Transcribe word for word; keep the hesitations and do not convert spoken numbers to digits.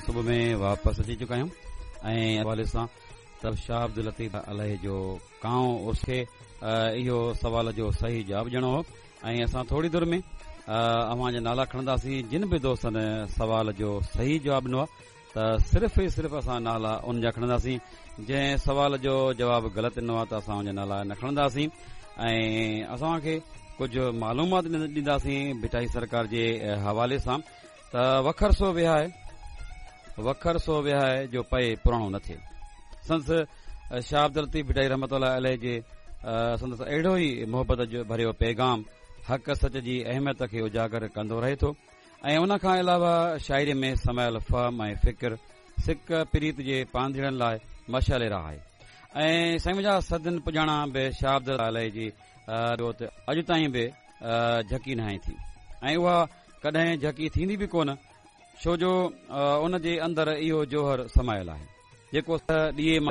صبح ۾ واپس اچي چڪا آهيون ۽ حوالي سان ته شاهه عبداللطيف عليه جو ڪانءُ عرس کي اهو سوال جو صحيح جواب ڏيڻو هو ۽ اسان ٿوري دير ۾ اوهان جا نالا کڻنداسين. جن به دوستن سوال جو صحيح جواب ڏنو آهي ته صرف ئي صرف اسان نالا ان جا کڻنداسين. جنهن سوال جو جواب غلط ڏنو آهي ته اسان ان جا نالا نه کڻنداسين ۽ اسان کي ڪجهه معلومات ڏينداسين ڀٽائي سرڪار جي حوالي سان. ته وکر سو وهائي، وکر سو وهائي جو پئي پراڻو نه ٿئي. سندس شاهه عبداللطيف ڀٽائي رحمت الله عليه جي سندس اهڙو ئي محبت جو ڀريو پيغام حق سچ جي اهميت کي اجاگر ڪندو رهي ٿو ۽ ان کان علاوه شاعري ۾ سمايل فهم ۽ فڪر سڪ پريت جي پانڌيئڙن لاءِ مشعل راهه آهي. ۽ سائين منهنجا صدين پڄاڻا به شاهه عبدالله عليه جي جوت اڄ تائين به جهڪي نه آهي ٿي ۽ اها ڪڏهن جهڪي ٿيندي به ڪونه، ڇو جو ان جي اندر اهو جوهر سمايل آهي جيڪو ڏيئي مان